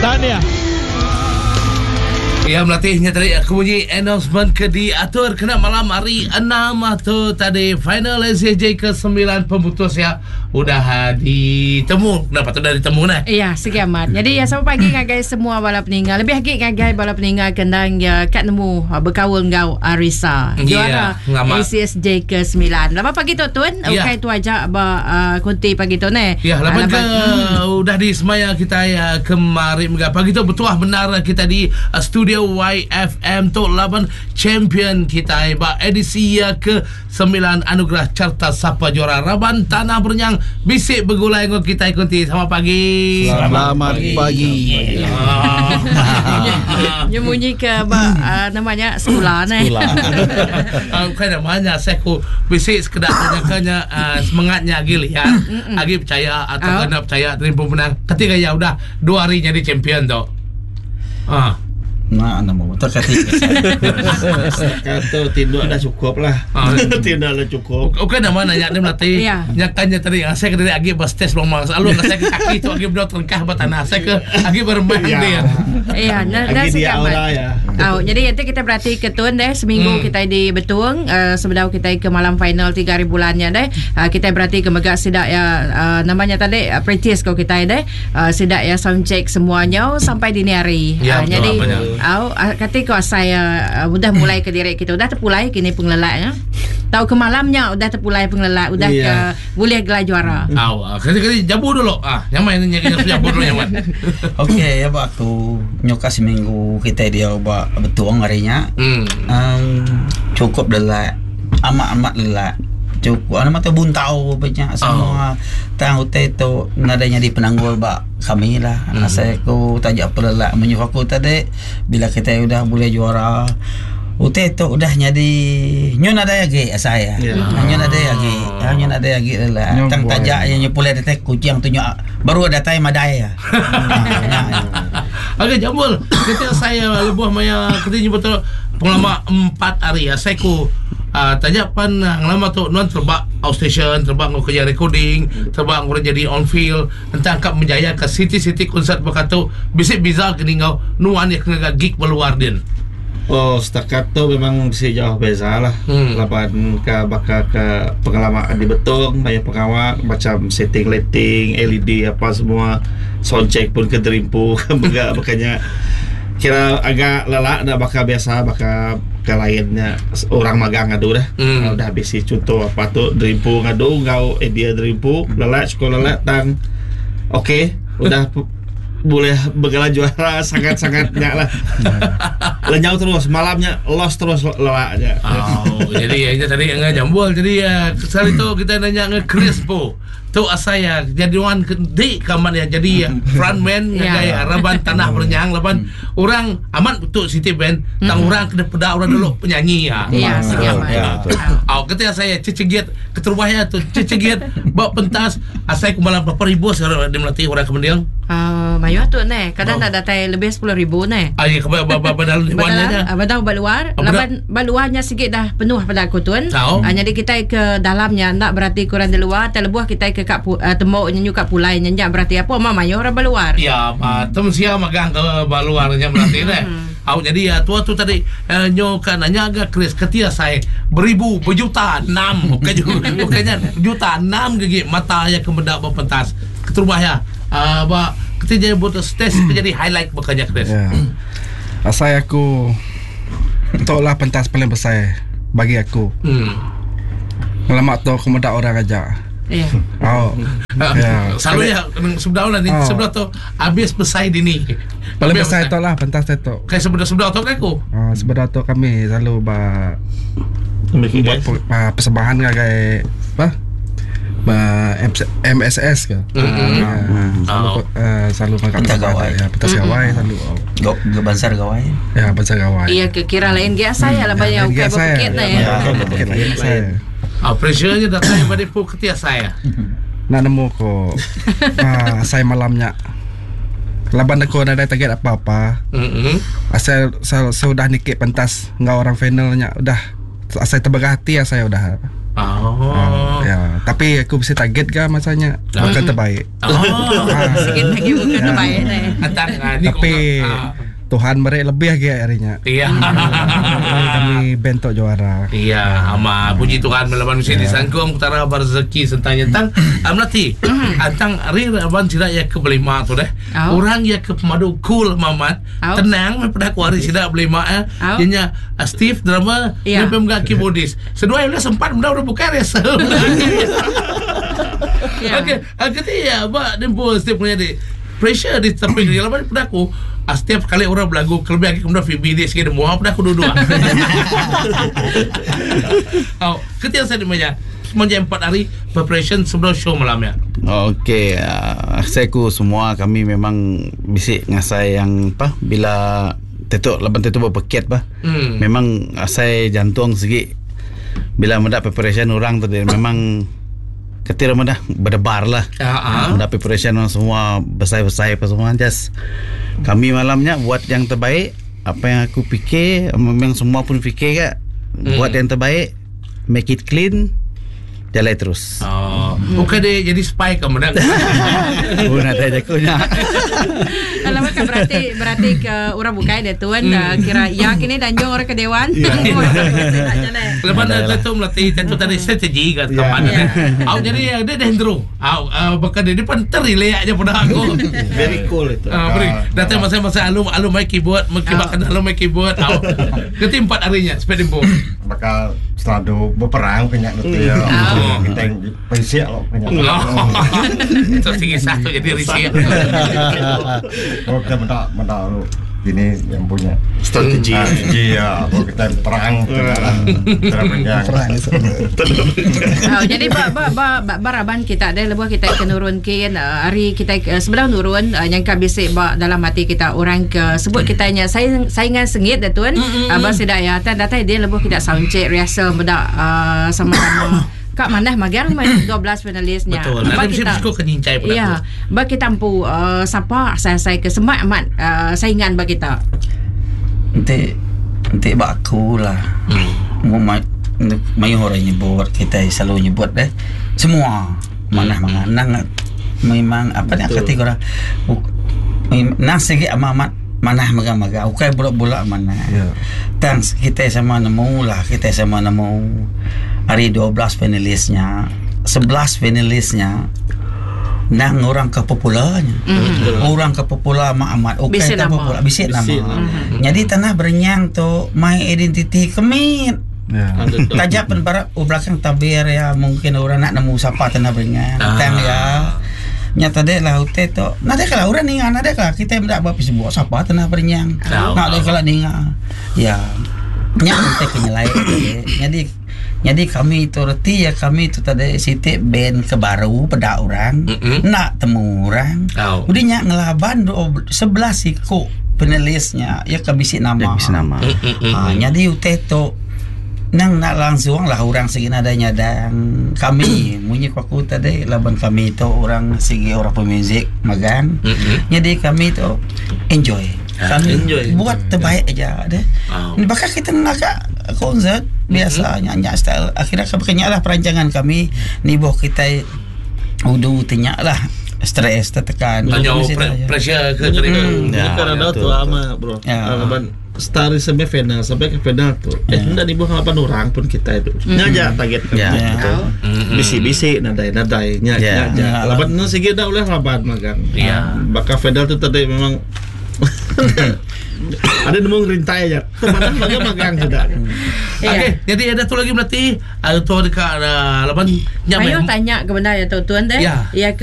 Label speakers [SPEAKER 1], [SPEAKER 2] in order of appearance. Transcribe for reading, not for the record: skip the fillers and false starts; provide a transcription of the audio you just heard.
[SPEAKER 1] Tahniah.
[SPEAKER 2] Iya melatih nya tadi aku munyi announcement ke diatur kena malam hari 6 tu tadi final SCJ ke 9 pemutus ya udah ah, ditemu kenapa tu udah ditemu nah
[SPEAKER 3] Ya, sigi amat. Jadi ya selamat pagi ngagai semua bala peninga. Lebih agi ngagai bala peninga ke endang ya kat nemu ah, bekaul enggau Arisa.
[SPEAKER 2] Ya,
[SPEAKER 3] Juara
[SPEAKER 2] ngamat.
[SPEAKER 3] ACSJ ke 9. Lama pagi tu tun,
[SPEAKER 2] Ya.
[SPEAKER 3] ukai tu aja ba uh, konti pagi tu ne.
[SPEAKER 2] Ya, laban
[SPEAKER 3] Ah,
[SPEAKER 2] ke udah disemaya kita ya, kemari mega pagi tu betuah benar kita di uh, studio YFM tu laban champion kita ba edisi ya, ke 9 anugerah carta sapa juara raban tanah berenyang bisik begulai dengan kita kunti selamat pagi.
[SPEAKER 4] Selamat pagi.
[SPEAKER 2] Ah.
[SPEAKER 3] Nyemunyi ke ba uh, namanya sekolah ne.
[SPEAKER 2] Ah, Bukan namanya saya ku bisik sekedar tanya uh, semangatnya lagi lihat lagi percaya atau
[SPEAKER 3] Oh.
[SPEAKER 2] kena percaya terima pemenang ketika ya udah dua hari jadi champion tu. Ah.
[SPEAKER 4] Nah, nama betul kata.
[SPEAKER 5] Kata tindak dah cukup lah.
[SPEAKER 2] Ah.
[SPEAKER 5] Tindak dah cukup.
[SPEAKER 2] Okey nama nanya dia melatih.
[SPEAKER 3] Ya.
[SPEAKER 2] Nyakannya tadi ah, saya kena lagi berstes lama. Selalu saya ke kaki tu lagi berdua terengkah bertanah. Saya ke lagi bermain
[SPEAKER 5] Ya.
[SPEAKER 2] dia.
[SPEAKER 3] Ya, nah, nah,
[SPEAKER 5] Lagi
[SPEAKER 3] sigi
[SPEAKER 5] dia
[SPEAKER 3] amat.
[SPEAKER 5] aura ya.
[SPEAKER 3] Oh, jadi nanti kita berarti ke tun deh seminggu kita di Betung uh, sebelum kita ke malam final 3 hari bulannya deh. Uh, kita berarti ke Megak sidak ya uh, namanya tadi uh, practice kau kita deh. Uh, sidak ya sound check semuanya sampai dini hari.
[SPEAKER 2] Ya,
[SPEAKER 3] Ah,
[SPEAKER 2] betul,
[SPEAKER 3] jadi
[SPEAKER 2] apanya.
[SPEAKER 3] au uh, kata kau saya uh, udah mulai ke diri kita udah terpulai kini pengelaknya. Tahu ke malamnya udah terpulai pengelak udah
[SPEAKER 5] Iya.
[SPEAKER 3] ke boleh gelar juara.
[SPEAKER 2] Aw, ah, kali-kali jabu dulu. Ah, nyaman ni nyari jabu dulu nyaman.
[SPEAKER 4] Okey, ya ba aku nyoka seminggu kita dia ba betuang harinya. Um, cukup lelak. Amat-amat lelak. Cukup. Ano mata buntau banyak semua. Tang utai tu nadanya di penanggul ba kami lah. Saya aku tajak pelelak menyuruh aku tadi bila kita udah boleh juara Utai tu udah jadi nyon ada lagi saya.
[SPEAKER 5] Ya.
[SPEAKER 4] Nyon ada lagi. Nyon ada lagi lelak.
[SPEAKER 1] Nyon
[SPEAKER 4] Tang
[SPEAKER 1] buai.
[SPEAKER 4] tajak yang pulai datang kucing tu nyo baru datang madai ya. Ha,
[SPEAKER 2] Okey, jambul. Ketika saya lebuh maya ketika betul pengalaman empat hari ya. Saya ku uh, tanya pan uh, ngelama tu nuan terbak outstation, terbak ngau kerja recording, terbak ngau jadi on field, entah angkat menjaya ke city-city konsert berkata bisik biza kini ngau nuan yang kena gig berluar din.
[SPEAKER 5] Oh, setakat tu memang mesti jauh beza lah. Laban ke bakal ke pengalaman di Betong, banyak pengawal macam setting lighting, LED apa semua, sound check pun ke derimpu, begak makanya kira agak lelak dah bakal biasa bakal ke lainnya orang magang ngadu dah. Udah habis si contoh apa tu derimpu ngadu ngau eh dia derimpu lelak cukup lelak tang okey udah boleh bergelar juara sangat-sangatnya lah. Lenyau terus malamnya lost terus lelaknya.
[SPEAKER 2] Oh, jadi ya, ini tadi yang jambul. Jadi ya, sekali tu kita nanya nge Chris po. Tu asaya jadi wan ke- di kaman ya jadi ya, frontman
[SPEAKER 3] Ya.
[SPEAKER 2] ngagai raban tanah berenyang laban orang amat betul city band tang orang kena peda orang dulu penyanyi ya.
[SPEAKER 3] Ya, sigi amat.
[SPEAKER 4] Ya, betul.
[SPEAKER 2] Oh, ketika saya cecegit keterubahnya tu cecegit bawa pentas asai kumalam berapa ribu sekarang dia melatih orang kemendiang.
[SPEAKER 3] Uh, mayu tu ne. Kadang nak datang lebih 10,000 ne.
[SPEAKER 2] Ah, ya, kebal bab dalam dewannya
[SPEAKER 3] Badal, ah, badal baluar,
[SPEAKER 2] Ah, badal.
[SPEAKER 3] laban baluarnya sikit dah penuh pada aku tuan.
[SPEAKER 2] Tahu.
[SPEAKER 3] Ah, jadi kita ke dalamnya nak berarti kurang di luar, terlebuh kita ke kap uh, tembok nyanyu kat pulai nyanyak berarti apa mama mayu orang baluar.
[SPEAKER 2] Ya, hmm. tem sia magang ke baluarnya berarti deh. Au jadi ya tua tu tadi eh, nyo kan nanya agak Chris ketia saya beribu berjuta enam bukan ju- bukannya juta enam gigi mata ya kemendak berpentas keterubah ya. Ah ba ketia jadi buat stage jadi highlight bukannya Chris.
[SPEAKER 1] Ya. Asal aku Tok lah pentas paling besar bagi aku. Lama tu aku medak orang aja.
[SPEAKER 3] Ya.
[SPEAKER 1] Oh. Ya.
[SPEAKER 2] Selalu ya sebelah lah ni
[SPEAKER 1] Oh.
[SPEAKER 2] sebelah tu habis besar dini.
[SPEAKER 1] Paling besar tu lah pentas tu.
[SPEAKER 2] Kayak sebelah sebelah tu kan aku.
[SPEAKER 1] Ah, sebelah tu kami selalu ba buat persembahan ngagai apa? Ba MSS ke.
[SPEAKER 2] Mm-mm.
[SPEAKER 1] Ah, selalu
[SPEAKER 2] Oh.
[SPEAKER 1] selalu makan
[SPEAKER 4] Pentas
[SPEAKER 1] persembahan,
[SPEAKER 4] gawai.
[SPEAKER 1] Ya, pentas gawai selalu.
[SPEAKER 4] Go, go bansar gawai.
[SPEAKER 1] Ya, pentas gawai.
[SPEAKER 3] Iya ke kira lain ge saya lah banyak
[SPEAKER 1] Lain
[SPEAKER 3] ukai
[SPEAKER 1] ge saya.
[SPEAKER 3] berpikir nah
[SPEAKER 1] Ya,
[SPEAKER 3] ya.
[SPEAKER 1] berpikir lain saya.
[SPEAKER 2] Ah pressure-nya datang daripada pu ketia saya.
[SPEAKER 1] Nak nemu ko. ah, saya malamnya. Laban aku ada target apa-apa.
[SPEAKER 2] Mm-mm.
[SPEAKER 1] Asal saya, saya udah nikik pentas enggak orang finalnya udah saya terbegah hati ya saya udah.
[SPEAKER 2] Oh.
[SPEAKER 1] Ya, tapi aku bisi target ga masa nya vokal terbaik.
[SPEAKER 2] Oh.
[SPEAKER 3] Sikit lagi vokal terbaik deh.
[SPEAKER 2] Antang ah, ni
[SPEAKER 1] Tapi
[SPEAKER 2] kau- ah.
[SPEAKER 1] Tuhan beri lebih lagi hari nya.
[SPEAKER 2] Iya.
[SPEAKER 1] Kami band tok juara.
[SPEAKER 2] Iya, ama puji Tuhan melawan mesti disangkung utara rezeki sentang nyentang amlati. Antang ari laban sida ya ke belima tu deh.
[SPEAKER 3] Oh.
[SPEAKER 2] Orang ya ke pemadu cool mamat.
[SPEAKER 3] Oh.
[SPEAKER 2] Tenang meh peda ku ari sida belima eh.
[SPEAKER 3] Oh.
[SPEAKER 2] Dia nya ah, Steve drummer,
[SPEAKER 3] Ya.
[SPEAKER 2] dia pun mega keyboardist. Seduai udah sempat benda udah bukan ya.
[SPEAKER 3] Ya.
[SPEAKER 2] Okey, ah, kata ya ba dempu Steve punya di pressure di tepi dia laban peda aku ah, setiap kali orang berlagu kelebih lagi kemudian Phoebe dia sikit muah peda aku duduk. Oh, ketika saya dimanya semenjak 4 hari preparation sebelum show malam ya.
[SPEAKER 6] Okey, saya ku semua kami memang bisik ngasai yang apa bila tetuk laban tetuk berpeket bah. Memang asai jantung segi bila mendak preparation orang tadi memang ketir dah berdebar lah.
[SPEAKER 2] Ah, ah.
[SPEAKER 6] Mendak preparation orang semua besai-besai apa semua just kami malamnya buat yang terbaik apa yang aku fikir memang semua pun fikir kak buat yang terbaik make it clean jalan terus.
[SPEAKER 2] Oh, bukan dia jadi spy ke menang.
[SPEAKER 6] Oh, nak tanya aku nya.
[SPEAKER 3] Kalau kan berarti berarti ke orang bukai dia tuan kira ya kini danjong orang ke dewan.
[SPEAKER 2] Lepas
[SPEAKER 6] Ada lah.
[SPEAKER 2] tu tu melatih tentu tadi strategi kat kapan
[SPEAKER 3] Ya.
[SPEAKER 2] Au jadi dia dah hendro. Au bahkan dia depan terrelay aja pada aku.
[SPEAKER 5] Very cool itu.
[SPEAKER 2] Ah, beri. Datang masa-masa alum alum main keyboard, mengkibatkan alum main keyboard. Au. Ketika 4 harinya sepeda dempo.
[SPEAKER 7] Bakal selalu berperang punya nanti ya.
[SPEAKER 2] Oh.
[SPEAKER 7] Kita yang perisik loh punya.
[SPEAKER 2] Terus tinggi satu jadi risik.
[SPEAKER 7] Oh kita mendak mendak lu ini yang punya
[SPEAKER 5] Strategi.
[SPEAKER 7] strategi ya. Oh kita perang tidak lah. Perang panjang.
[SPEAKER 1] Perang.
[SPEAKER 3] Oh, jadi ba ba ba, ba baraban kita ada lebuh kita ke nurun ke hari kita sebelum nurun nyangka bisik ba dalam hati kita orang ke sebut kita nya saing saingan sengit dah tuan. Mm, uh, ba ya tan datai dia lebuh kita sound check rehearsal bedak sama-sama Kak mana magang main 12 finalisnya.
[SPEAKER 2] Betul.
[SPEAKER 3] Ba
[SPEAKER 2] Ada mesti psiko kenyincai pada
[SPEAKER 3] Ya,
[SPEAKER 2] aku.
[SPEAKER 3] ba kita empu siapa saya-saya ke semak amat saingan ba kita.
[SPEAKER 4] Nanti nanti bak aku lah. Mu ma- mayu orang nyebut kita selalu nyebut deh. Semua mana mana nang memang apa nak kata korang nang segi amat manah maga-maga ukai bulak-bulak mana.
[SPEAKER 7] Ya.
[SPEAKER 4] Tang kita sama nemu lah kita sama nemu hari 12 finalisnya 11 finalisnya nang orang ke popularnya orang ke popular mak amat okey
[SPEAKER 3] Bisik
[SPEAKER 4] tak
[SPEAKER 3] nama.
[SPEAKER 4] popular bisik nama
[SPEAKER 5] Bisik nama.
[SPEAKER 4] jadi tanah berenyang tu my identity kemit
[SPEAKER 1] Ya.
[SPEAKER 4] tajam pun barat oh, belakang tabir ya mungkin orang nak nemu siapa tanah berenyang
[SPEAKER 2] Ah.
[SPEAKER 4] tang ya nyata dek lah hotel tu nada kalau orang ninga nada kalau kita tidak buat sebuah siapa tanah berenyang
[SPEAKER 2] Tahu.
[SPEAKER 4] nak ada kalau ninga ya nya kita kenyelai jadi jadi kami itu reti ya kami itu tadi sitik band ke baru pada orang
[SPEAKER 2] Mm-mm.
[SPEAKER 4] nak temu orang
[SPEAKER 2] Tahu.
[SPEAKER 4] udah nyak ngelaban 11 iku penulisnya ya ke bisi nama
[SPEAKER 6] Ya, bisi nama.
[SPEAKER 4] Ha, jadi utai tu nang nak langsung lah orang segi nada nyadang kami munyi ku aku tadi laban kami tu orang segi orang pemuzik magang
[SPEAKER 2] Mm-mm.
[SPEAKER 4] jadi kami tu enjoy kami
[SPEAKER 5] enjoy.
[SPEAKER 4] buat terbaik aja deh
[SPEAKER 2] Oh.
[SPEAKER 4] bahkan kita nak konsert biasa nyanyi style akhirnya kami lah perancangan kami ni boh kita udu tinyak lah stres tertekan
[SPEAKER 2] Tanya
[SPEAKER 4] Mesti tanya.
[SPEAKER 2] pressure ke cerita.
[SPEAKER 6] Ya,
[SPEAKER 5] Karena
[SPEAKER 6] ya,
[SPEAKER 5] tu
[SPEAKER 6] betul,
[SPEAKER 5] ama bro.
[SPEAKER 4] Ya.
[SPEAKER 5] Laban star sampai final sampai ke final tu. Eh hendak di bawah 8 orang pun kita itu. Nya target kami.
[SPEAKER 6] Ya.
[SPEAKER 4] Ya.
[SPEAKER 5] Betul. Bisi-bisi nadai nadai nya
[SPEAKER 6] Ya.
[SPEAKER 5] nya.
[SPEAKER 4] Ya.
[SPEAKER 5] Laban nu sigi dah oleh laban magang.
[SPEAKER 2] Ya.
[SPEAKER 5] Bakal final tu tadi memang ada nemu ngerintai aja. Teman magang magang sudah.
[SPEAKER 3] Ya.
[SPEAKER 2] Okey, jadi ada tu lagi berarti ada tu dekat laban
[SPEAKER 3] Ayo tanya ke benda ya tuan deh.
[SPEAKER 2] Ya.
[SPEAKER 3] Ya ke